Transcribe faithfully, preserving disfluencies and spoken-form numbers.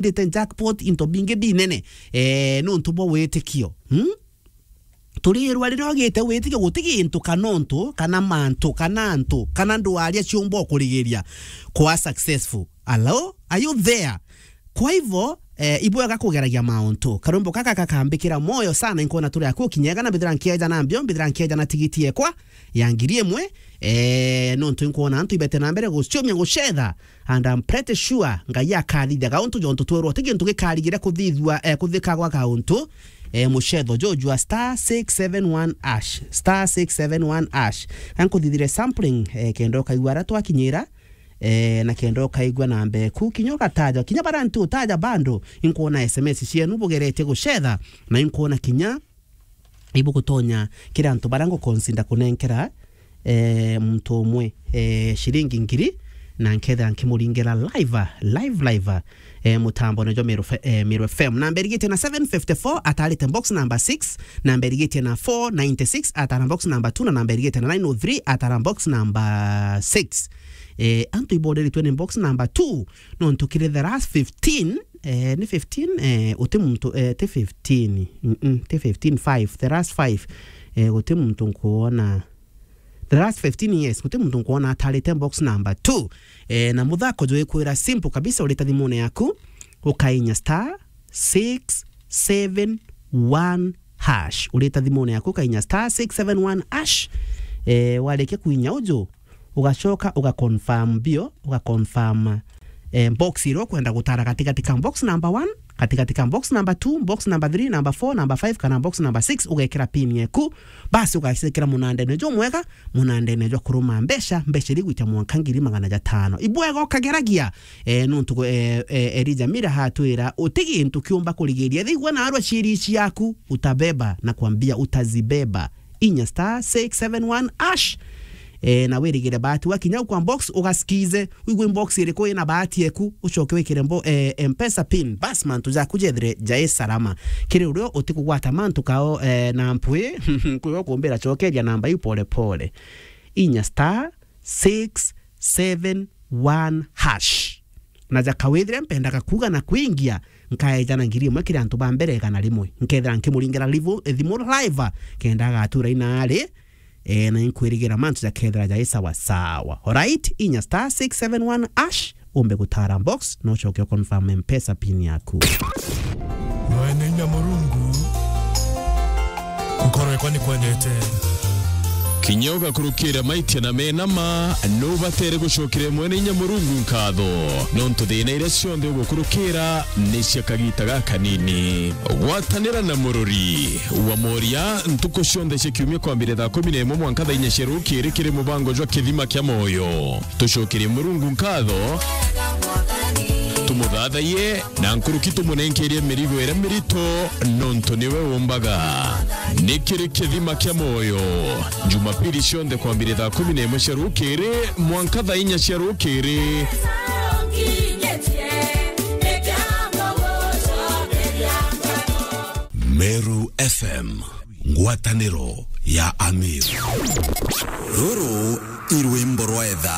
ndite jackpot into bingi binene, eh, nontu bwa witikio. Hmm? Turirwa riria ugite witikio, guti gintu kana untu, kana mantu, kana antu, kana ndwaria ciumba ukurigiria kwa successful. Hello? Are you there? Kwa hivyo, eh, ibwega kugeragia mauntu. Karwimbo kaka kakambikira moyo sana, inkwona turi aku kinyega, na mbithira nkieja na mbio, mbithira nkieja na tigiti ekwa ya ngiri imwe, eh, nontu inkwona antu ibete na mbere guciumia gucetha, and I'm pretty sure Ngai akathithaga untu jontu twerwo ti gintu gikarigire kuthithua, eh, kuthikagwa kauntu, eh, mucetho jujua star six seven one hash, star six seven one hash. Ankuthithire sampling, eh, kenda ukaigua ara twakinyira, eh, na kenda ukaigua namba eku, kinya ugataja, kinya bara nti utaja bando, inkwona S M S cienu bugeretie gucetha, na inkwona kinya ibugutonya kiri antu bara nguconsider kunenkera, eh, muntu umwe, eh, ciringi ngiri, na nkethira nkimuringera live, live, live, eh, mutambone jwa Meru Fe-, eh, Meru F M. Namba irigitie na seven fifty-four, atarite box number six, namba irigitie na four ninety-six, atara box number two, na namba irigitie na nine oh three, atara box number six. Eh, antu iboreritwe ni box number two, nontu kiri the last fifteen, eh, ni fifteen, eh, uti muntu, eh, ti fifteen, mm, mm, ti fifteen, five, the last five, eh, guti muntu nkuona, the last fifteen years, guti muntu nkuona atarite box number two. Eh, na muthako jwikwira simple kabisa, urita thimune yaku, ukainya star six seven one hash. Urita thimune yaku, ukainya star six seven one hash. Eh, warikia kuinya uju, ugacoka ugaconfirm bio, ugaconfirm, eh, box iria ukwenda gutara katigati ka box number one, katigati ka box number two, box number three, number four, number five, kana box number six, ugekira pin yeku, basi ugacikira munandene jumwega, munandene jwa kuruma mbeca, mbeca iria igwita mwanka ngiri magana jatano. Ibwega ukageragia, eh, nontu, eh, eh, Elijah Mira hatwira, uti gintu kiumba kurigiria. Thigua narua ciiri ciaku, utabeba, na kwambia utazibeba. Inya star six seven one hash. Eh, na wirigire bahati, wakinya au kwa box, ugasikize, wigue box iriku ina bahati eku, ucoke wikire mbo-, eh, M-Pesa pin. Bas, mantu jaku jethire jai salama. Kiri urio utikugwata mantu kao, eh, na mpwi, kwiwe kumbira cokeria namba iu pole pole. Inya star six seven one hash. Na jaka withire mpendaga kuuga na kwingia, nkaeja na ngiri imwe kiri antu ba mbere igana rimwe. Nkethira nkimuringira livu-, thimu live, kenda agatura inaari, eh, na inkwirigira mantu jakethira jai sawa sawa. Alright, inya star six seven one hash, umbe gutara box, na ucoke uconfirm M-Pesa pin yaku. Mwene inya Murungu, nkoro yakwa nikwendete. Kinya ugakurukira maitia na mena ma, nubatere gucokera Mwene inya Murungu nkatho, nontu thina iria cionthe ugukurukira ni cia kagita gakanini. Gwatanira na murori wa Moria ntuku cionthe cia kiumia kwambire thaa kumi na imwe mwanka thaa inya cia rukiri kiri mubango jwa Kithima kia Moyo. Tucokerie Murungu nkatho, tumuthathaiye, na nkuruki tumunenkerie mirigo iria mirito, nontu niwe umbaga. Ni kiri Kithima kia Moyo, Jumapili cionthe kwambire thaa kumi na imwe cia rukiri mwanka thaa inya cia rukiri. Meru F M, ngwataniro ya Amiru. Ruru i rwimbo rwa etha.